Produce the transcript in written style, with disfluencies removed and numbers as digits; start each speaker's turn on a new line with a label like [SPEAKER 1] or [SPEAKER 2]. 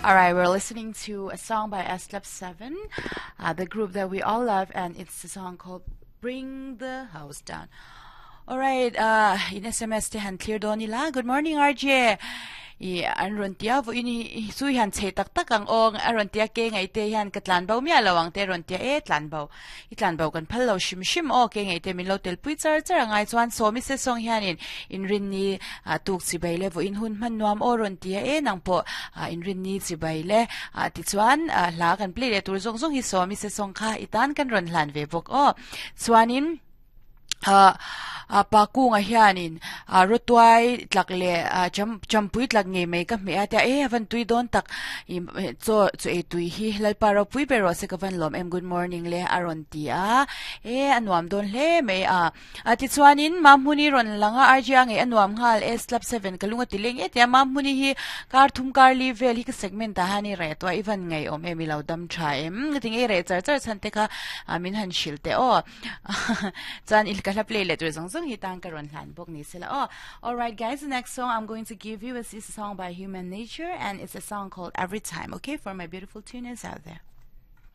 [SPEAKER 1] All right, we're listening to a song by S Club 7, the group that we all love, and it's a song called Bring the House Down. All right, in SMS te han clear dawn ila. Good morning, RJ. I an rawn tia vawiin hi chu hian chhe tak tak ang aw a rawn tia ke ngaih te hian ka tlan bo miah lo ang te rawn tia e tlan bo i tlan bo kan phal lo hrim hrim aw ke ngaih te min lo tel pui char char a ngai chuan sawmi se sawng hianin inrinni tuk chibai le vawiin hun hman nuam aw rawn tia e nang pawh inrinni chibai le tichuan hla kan play leh tur zawng zawng hi sawmi se sawng kha i tan kan rawn hlan ve bawk aw chuanin Ah pa kunga hianin ah rawtuai tlak leh ah cham champui tlak ngei mai ka hmeh a tia e a van tui dawn tak ih chaw chaw ei tui hi Lalpa ropui ber rawh se ka van lawm em good morning le a rawn ti a e a nuam dawn hle mai a ah tichuanin Mahmuni rawn lang a RJ a ngei a nuam nghal e slap seven ka lung a ti leng e tia Mahmuni hi kar thum kar li vel hi ka segment ah hian i reh tawh a i van ngaihawm em i lo dam tha em tinge i reh char char chhan te kha ah min han hrilh teh aw. Chuan i ka hla play leh tur zawng zawng hi tan ka rawn hlan bawk ni sela aw. Alright guys, the next song I'm going to give you is a song by Human Nature and it's a song called Every Time, okay, for my beautiful tuners out there.